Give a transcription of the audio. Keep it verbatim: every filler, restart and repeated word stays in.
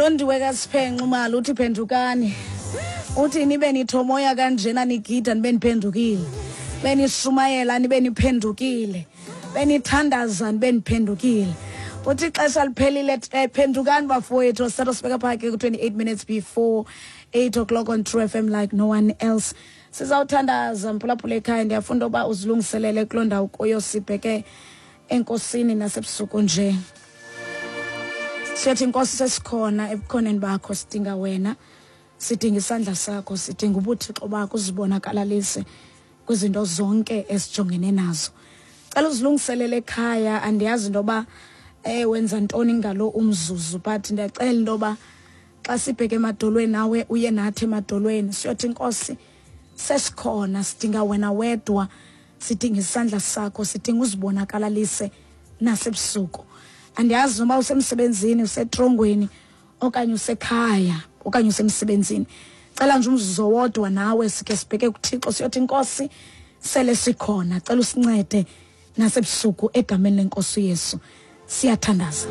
Ulondiwe kaSiphenxa umali uthi phendukani. Uthi nibe nithomoya kanjena nigida nibe niphendukile. Benishumayela nibe niphendukile. Benithandaza nibe niphendukile. Uthi ixesha liphelile, phendukani bafowethu. Sithatha sibeka phake ku-twenty-eight minutes before eight o'clock on True F M like no one else. Sizawuthandaza mphulaphula ekhaya, ndiyafunda uba uzilungiselele kuloo ndawo kuyo, sibheke enkosini nasebusuku nje. Siyathi Nkosi, sesikhona ebukhoneni bakho, sidinga wena, sidinga isandla sakho, sidinga ubuthixo bakho uzibonakalalise kwizinto zonke esijongene nazo. Cela uzilungiselele ekhaya, andiyazi into yoba eh wenza ntoni ngalo umzuzu, but ndiyacela into yoba xa sibheke emadolweni nawe uye nathi emadolweni. Siyothi Nkosi, sesikhona, sidinga wena wedwa, sidinga isandla sakho, sidinga uzibonakalalise nasebusuku. Andiyazi noba usemsebenzini, usetrongweni, okanye usekhaya, okanye usemsebenzini. Cela nje umzuzu owodwa nawe sike sibheke kuThixo, siyothi Nkosi, sele sikhona, cela usincede nasebusuku egameni leNkosi uYesu. Siyathandaza.